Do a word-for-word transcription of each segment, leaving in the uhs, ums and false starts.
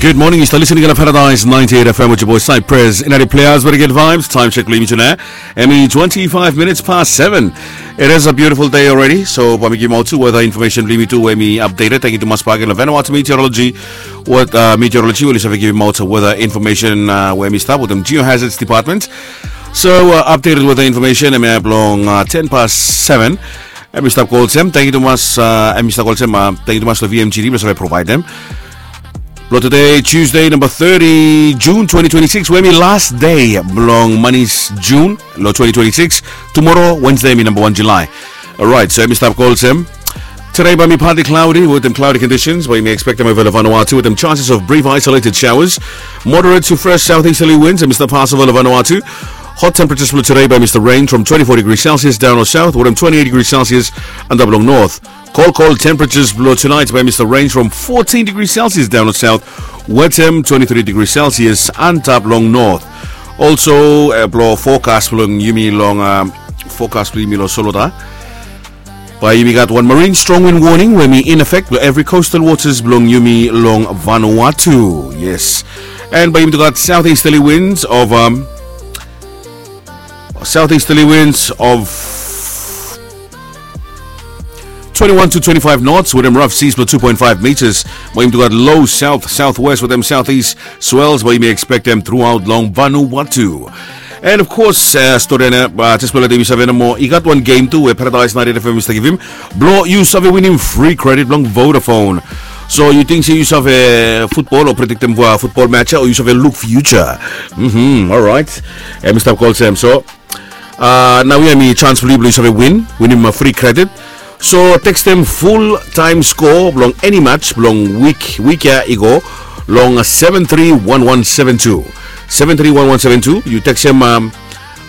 Good morning, yu stap listening long Paradise ninety-eight F M with your boy Cypress. Inadi players, very good vibes. Time check long yumi tu nao. Hemi twenty-five minutes past seven. It is a beautiful day already. So bae mi givimaot tu weather information blong yumi tu we hemi updated. Tangkiu tumas bakegen long Vanuatu Meteorology. Weather, uh, meteorology we oli save givimaot weather information, uh, we hemi stap wetem Geohazards Department. So, uh, updated weather information hemia blong, uh, ten past seven. Hemi stap go olsem, tangkiu tumas, uh, hemi stap go olsem, uh, tangkiu tumas long V M G D blong save provaedem. Blong tede Tuesday namba thirty June twenty twenty-six we hemi last day blong manis June long twenty twenty-six. Tumoro Wednesday hemi namba wan July. Alright, so hemi stap go olsem. Today bae hemi partly cloudy wetem cloudy conditions, bae yumi expectem ova long Vanuatu wetem chances of brief isolated showers. Moderate to fresh southeasterly winds hemi stap fas ova long Vanuatu. Hot temperatures blong today bae hemi stap range from twenty-four degrees Celsius daon long south wetem twenty-eight degrees Celsius antap long north. Cold, cold temperatures blong tonight bae hemi stap range from fourteen degrees Celsius daon long south wetem twenty-three degrees Celsius antap long north. Also, uh, blong forecast blong yumi long, um, forecast blong yumi long solota. Bae yumi gat wan marine strong wind warning we hemi in effect blong every coastal waters blong yumi long Vanuatu. Yes. And bae yumi tu gat southeasterly winds of, um, southeasterly winds of twenty-one to twenty-five knots wetem rough seas blong two point five meters. Bae yumi tu gat low south southwest wetem southeast swells bae yumi expectem throughout long Vanuatu. And of course, uh, stori ia, uh, jes blong letem yu save nomo, i gat wan game tu we Paradise ninety-eight F M i stap givim. Blong yu save winim free credit blong Vodafone. So yu ting se yu save futbol o prediktem, uh, futbol match ia o yu save luk future. Mhm, alright. Hemi stap go olsem. So, uh, naoia hemi chance blong yu blong yu save win, winim, uh, free credit. So tekstem full time score blong eni match blong wik, wik ia i go long, uh, seven three one one seven two. Seven three one one seven two. Yu tekstem, um,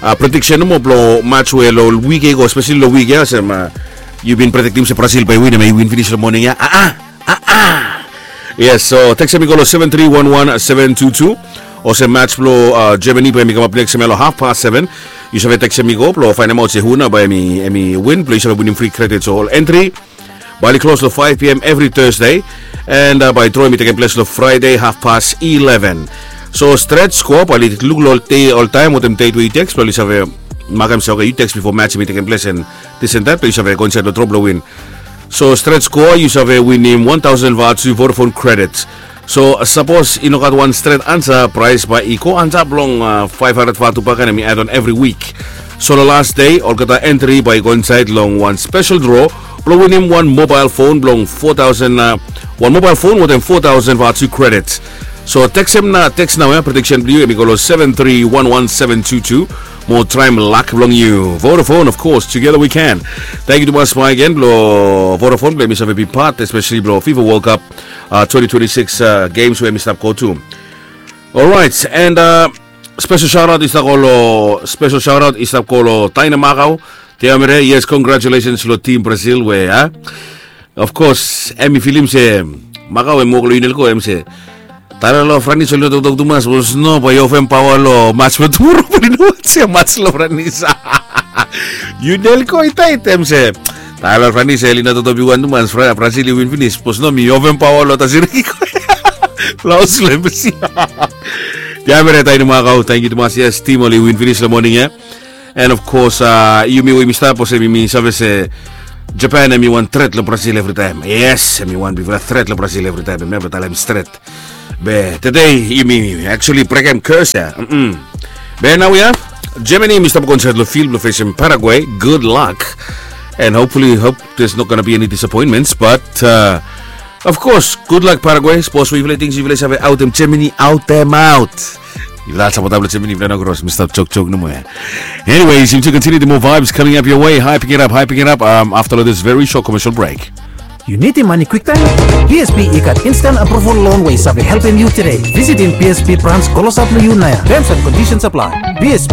uh, prediction nomo blong match we long wik ia i go, especially long wik ia, olsem, uh, yu bin prediktem se Brazil bae win, hemia i win finis long moning ia. Ah, ah, ah, ah. Yes, so tekstem i go long seven three one one seven two two. Olsem match blong, uh, Germany bae hemi kamap neks hemia long half past seven. Yu save tekstem i go blong faenemaot se hu nao bae hemi, hemi win blong yu save winim free credit. So ol entri bae oli klos long five P M evri Thursday. And, uh, bae draw hemi tekem ples long Friday half past eleven. So stret skoa bae oli luk long dei oltaem wetem deit we yu teks blong oli save makem se oke yu teks bifo match hemi tekem ples and this and that blong yu save go insaed long draw blong win. So stret skoa yu save winim wan taosen vatu Vodafone credit. So sapos i no gat wan stret ansa, praes bae i go antap long, uh, faef handred vatu bakegen, hemi add on evri wik. So long las dei olgeta entri bae i go insaed long wan spesel draw blong winim wan mobael fon blong fo taosen, uh, wan mobael fon wetem fo taosen vatu credit. So tekstem nao, teks naoia, prediksen blong yu hemi go long seven three one one seven two two. Mo traem lak blong yu. Vodafone, of course, together we can. Tangkiu tumas bakegen blong Vodafone blong hemi save bi pat, especially blong FIFA World Cup, uh, twenty twenty-six, uh, games we hemi stap go tu. Alright, and, uh, spesel shaotaot i stap go long, spesel shaotaot i stap go long Taina Makau. Tiamere, yes, congratulations long tim Brazil we, uh, of course hemi filim se Makau hemi wok long Unelco, hemi se Taila long Franis oli no toktok tumas, bikos no bae i ofem paoa long mats blong tumoro, bae oli no wantem mats long Franis. Unelco i taet, hemi se Taila long Franis oli no toktok biwan tumas, Brazil i win finis, bikos no mi ofem paoa long Tasiriki. Long haos long Embassy. Tiamere, Taina Makau, tangkiu tumas, yes, tim oli win finis long moning ia. And of course, uh, yumi we yumi stap olsem yumi save se Japan hemi wan tret long Brazil evritaem. Yes, hemi wan bigfala tret long Brazil evritaem. Hemi never talem stret. Be tede yumi actually brekem curse ia. Mm-mm. Be naoia Germany hemi stap go insaed long field blong fesem Paraguay. Good luck. And hopefully, hope there's not gonna be any disappointments. But, uh, of course, good luck Paraguay. Sapos we yufala ting se yufala save aotem Germany, aotem aot. Yufala sapotaem long Germany, yufala no kros, mi stap jokjok nomo ia. Anyways, yumi tu continue the more vibes coming up your way. Hyping it up, hyping it up, um, after this very short commercial break. Yu nidim mane kwiktaem? B S B i gat instant approval loan we i save helpem yu today. Visitim B S B branch klosap long yu naoia. Terms and conditions apply. B S B,